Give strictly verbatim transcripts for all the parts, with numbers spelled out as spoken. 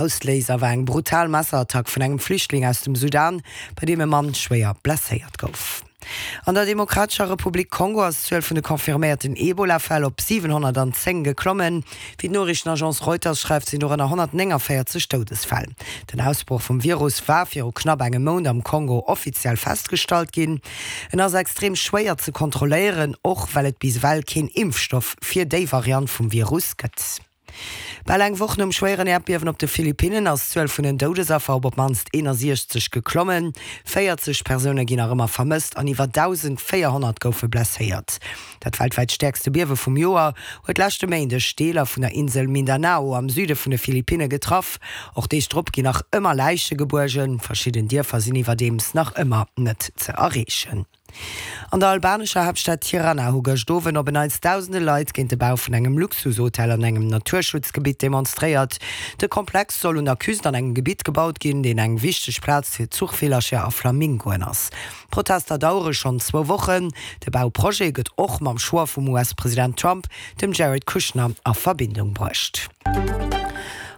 Ausléiser war eng brutal Messerattack vun engem Flüchtling aus dem Sudan, bei deem e Mann schwéier blesséiert gouf. An der Demokratescher Republik Kongo ass d'Zuel vun de confirméierten Ebola-Fäll op siwenhonnertanzéng geklommen. Wéi d'Noriichtenagence Reuters schreift, sinn dorënner honnertnénganvéierzeg Doudesfäll. Den Ausbroch vum Virus war viru knapp engem Mount am Kongo offiziell festgestallt ginn. En ass extrem schwéier ze kontrolléieren, och well et bis ewell keen Impfstoff fir déi Variant vum Virus gëtt. Bal eng Woch nom schwéieren Äerdbiewen op de Philippinnen ass d'Zuel vun den Doudesaffer op op d'mannst eenasiechzeg geklommen. véierzeg Persoune ginn nach ëmmer vermësst an iwwer dausendvéierhonnert goufe blesséiert. Dat weltwäit stäerkste Biewe vum Joer huet leschte Méindeg Deeler vun der Insel Mindanao am Süde vun de Philippinne getraff. Och Deeg drop ginn nach ëmmer Läiche gebuergen. Verschidden Dierfer sinn iwwerdeems nach ëmmer net ze erreechen. An der albanescher Haaptstad Tirana hu gëscht Owend op en Neits dausende Leit géint de Bau vun engem Luxushotel an engem Naturschutzgebitt demonstréiert. De Komplex soll un der Küst an engem Gebitt gebaut ginn, deen eng wichteg Plaz fir Zuchvillercher a Flamingoen ass. D'Protester dauere schonn zwou Wochen. De Bauprojet gëtt och mam Choix vum U S-President Trump, dem Jared Kushner, a Verbindung bruecht.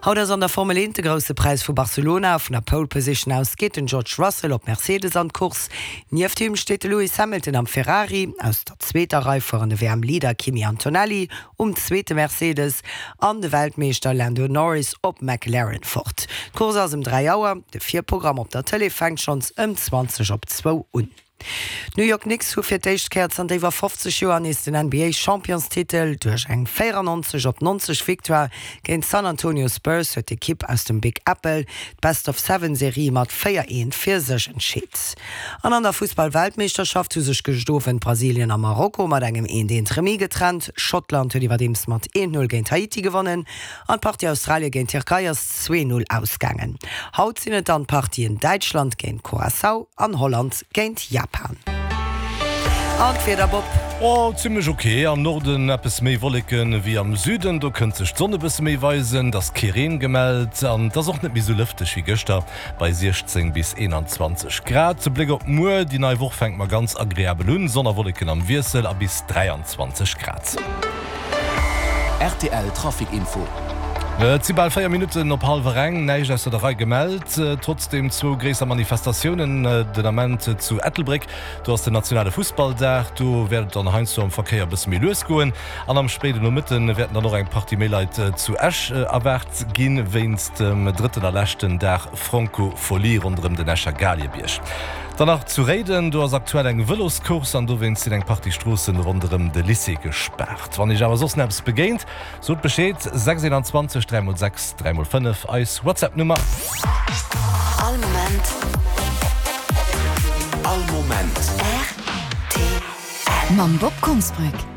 Haut ass an der Formel eent de Grousse Präis vu Barcelona. Vun der Pole Position aus geet den George Russell op Mercedes an d'Course. Nieft him steet de Lewis Hamilton am Ferrari. Aus der zweeter Rei fueren de W M-Leader Kimi Antonelli um zweete Mercedes an de Weltmeeschter Lando Norris op McLaren fort. D'Course ass ëm dräi Auer, de Virprogramm op der Tëlee fänkt schonns ëm zwanzeg op zwou un. D'New York Knicks hu fir d'éischt Kéier zanter iwwer fofzeg Joer nees den N B A-Championstitel. Duerch eng véierannonzeg op nonzeg Victoire géint d'San Antonio Spurs huet d'Ekipp aus dem Big Apple d'Best-of-Seven-Serie mat véier eent fir sech entscheet. An an der Fussball-Weltmeeschterschaft hu sech gëscht Owend Brasilien a Marokko mat engem eent eent Remis getrennt. Schottland huet iwwerdeems mat eent null géint Haiti gewonnen an d'Partie Australie géint Tierkei ass zwee null ausgaangen. Haut sinn et dann d'Partien Däitschland géint Curaçao an Holland géint Japan. An d'Wieder, Bob? Oh, zimmlech ok. Am Norden eppes méi Wolleken ewéi am Süden, do kënnt sech d'Sonn e bësse méi weisen. Et ass kee Reen gemellt an et ass och net méi sou lëfteg wéi gëschter bei siechzéng bis eenanzwanzeg Grad. Zu Bléck op muer, déi nei Woch fänkt mar ganz agreabel un, Sonn a Wolleken am Wiessel a bis dräianzwanzeg Grad. R T L Trafic Info. Et si bal véier Minutten op hallwer eng. Näischt ausser der Rei gemellt. Trotzdeem zwou gréisser Manifestatiounen den Ament zu Ettelbréck. Do ass den nationale Fussballdag. Do wäert et dann heiansdo am Verkéier e bësse méi lues goen. An am spéiden Nomëtte wäerten dann och eng Partie méi Leit zu Esch erwaart ginn, wéinst dem drëtten a leschten Dag Francofolie ronderëm den Escher Galiebierg. Dann nach zu Réiden, do ass aktuell eng Vëloscourse an dowéinst sinn eng Partie Stroossen ronderëm de Lycée gespaart. Wann Iech awer soss nach eppes begéint, sot Bescheed, sechs eenanzwanzeg dräi mol sechs dräi mol fënnef, eis WhatsApp-Nummer. All Moment. All Moment. R T L. Mam Bob Konsbrück.